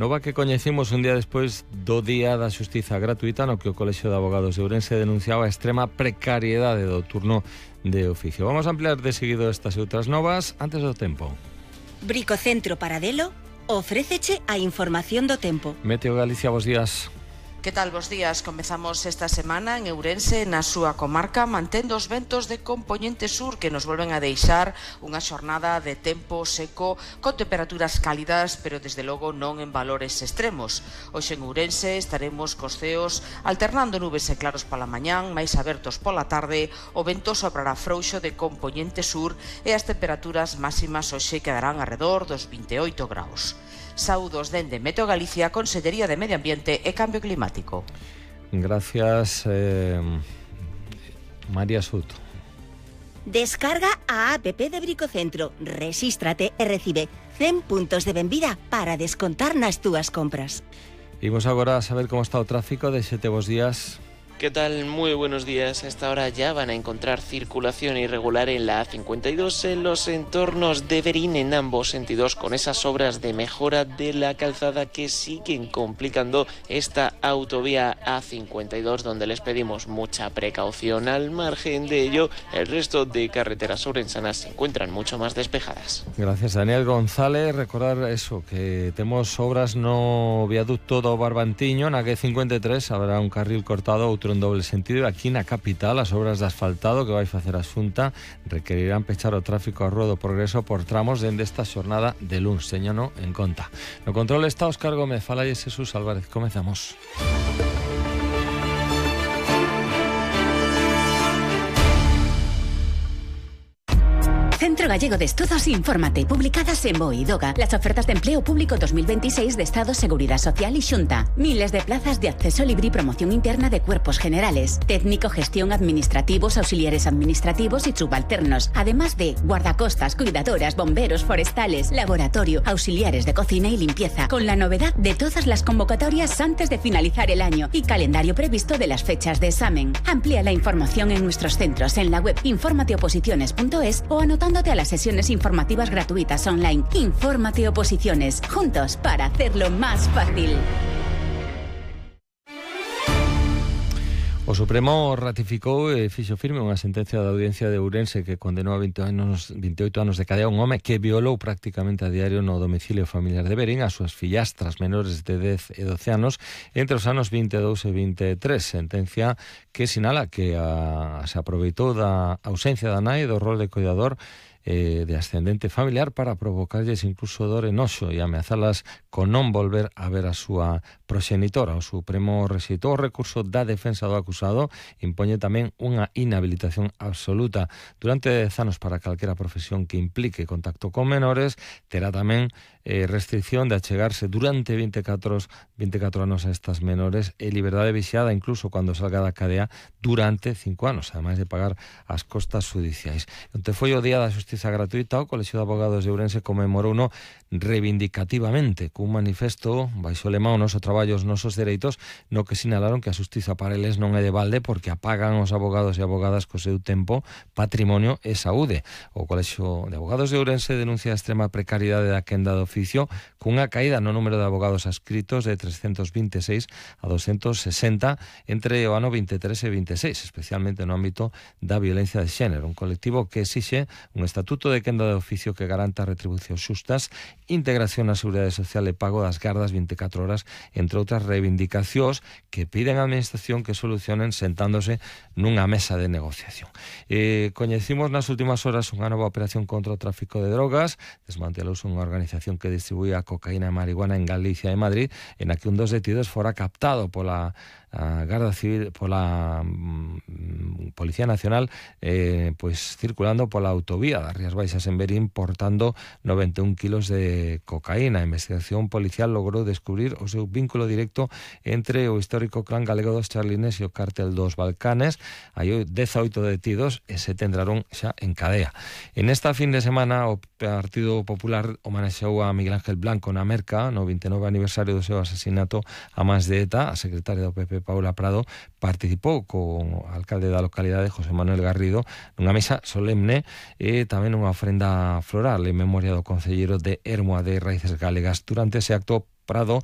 Nova que coñecimos un día despois do Día da Xustiza Gratuita, no que o Colexio de Abogados de Ourense denunciaba a extrema precariedade do turno de oficio. Vamos a ampliar de seguido estas e outras novas antes do tempo. Bricocentro Paradelo ofréceche a información do tempo. Meteo Galicia, bos días. Que tal, bos días? Comezamos esta semana en Ourense, na súa comarca, mantendo os ventos de compoñente sur que nos volven a deixar unha xornada de tempo seco con temperaturas cálidas, pero desde logo non en valores extremos. Hoxe en Ourense estaremos cos ceos alternando nubes e claros pola mañán, máis abertos pola tarde, o vento soprará frouxo de compoñente sur e as temperaturas máximas hoxe quedarán arredor dos 28 graus. Saúdos dende Meteo Galicia, Consellería de Medio Ambiente e Cambio Climático. Gracias, María Soto. Descarga a app de Bricocentro, rexístrate e recibe 100 puntos de benvida para descontar nas túas compras. Imos agora a saber como está o tráfico. Desete bos días. ¿Qué tal? Muy buenos días. A esta hora ya van a encontrar circulación irregular en la A52 en los entornos de Verín en ambos sentidos, con esas obras de mejora de la calzada que siguen complicando esta autovía A52, donde les pedimos mucha precaución. Al margen de ello, el resto de carreteras ourensanas se encuentran mucho más despejadas. Gracias, Daniel González. Recordar eso, que temos obras no viaducto do Barbantiño, na G53 habrá un carril cortado, outro en doble sentido. Aquí na capital, as obras de asfaltado que vai facer a Xunta requerirán pechar o tráfico a Rúa do Progreso por tramos dende esta xornada de luns, teñano en conta. No control está Óscar Gómez, falalle Jesús Álvarez. Comezamos. Centro Gallego de Estudos Infórmate, publicadas en BOE y DOGA, las ofertas de empleo público 2026 de Estado, Seguridad Social y Xunta. Miles de plazas de acceso libre y promoción interna de cuerpos generales, técnico, gestión, administrativos, auxiliares administrativos y subalternos, además de guardacostas, cuidadoras, bomberos, forestales, laboratorio, auxiliares de cocina y limpieza, con la novedad de todas las convocatorias antes de finalizar el año y calendario previsto de las fechas de examen. Amplía la información en nuestros centros en la web informateoposiciones.es o anotándote a las sesiones informativas gratuitas online. Infórmate Oposiciones, juntos para hacerlo más fácil. O Supremo ratificou e fixo firme unha sentencia da Audiencia de Ourense que condenou a 28 anos de cadea un home que violou prácticamente a diario no domicilio familiar de Verín as súas fillastras menores de 10 e 12 anos entre os anos 22 e 23. Sentencia que sinala que se aproveitou da ausencia da nai do rol de cuidador de ascendente familiar para provocarlles incluso dor e noxo e ameazalas con non volver a ver a súa proxenitora. O Supremo rexeitou o recurso da defensa do acusado, impoñe tamén unha inhabilitación absoluta durante 10 anos para calquera profesión que implique contacto con menores. Terá tamén restricción de achegarse durante 24 anos a estas menores e liberdade vixiada incluso cando salga da cadea durante 5 anos, ademais de pagar as costas judiciais. Onte foi o Día da Xustiza Gratuita, o Colexio de Abogados de Ourense comemorouno reivindicativamente cun manifesto baixo o lema "O noso traballo, os nosos dereitos", no que sinalaron que a xustiza para eles non é de balde porque apagan os abogados e abogadas co seu tempo, patrimonio e saúde. O Colexio de Abogados de Ourense denuncia a extrema precariedade da quenda do oficio cunha caída no número de abogados adscritos de 326 a 260 entre o ano 23 e 26, especialmente no ámbito da violencia de xénero. Un colectivo que exixe un estatuto de quenda de oficio que garanta retribucións xustas, integración na seguridade social e pago das gardas 24 horas, entre outras reivindicacións que piden á administración que solucionen sentándose nunha mesa de negociación. Coñecimos nas últimas horas unha nova operación contra o tráfico de drogas. Desmantelouse unha organización que distribuía cocaína e marihuana en Galicia e Madrid, en a que un dos detidos fora captado pola Garda Civil, pola Policía Nacional, circulando pola autovía das Rías Baixas en Verín, portando 91 kilos de cocaína. A investigación policial logrou descubrir o seu vínculo directo entre o histórico clan galego dos Charlines e o cártel dos Balcanes. Hai 18 detidos e 7 entraron xa en cadea. En esta fin de semana o Partido Popular homenaxeou a Miguel Ángel Blanco na Merca no 29 aniversario do seu asasinato a mans de ETA. A secretaria do PP, Paula Prado, participou co alcalde da localidade, José Manuel Garrido, nunha misa solemne e tamén unha ofrenda floral en memoria do concelleiro de Ermua de Raíces Galegas. Durante ese acto Prado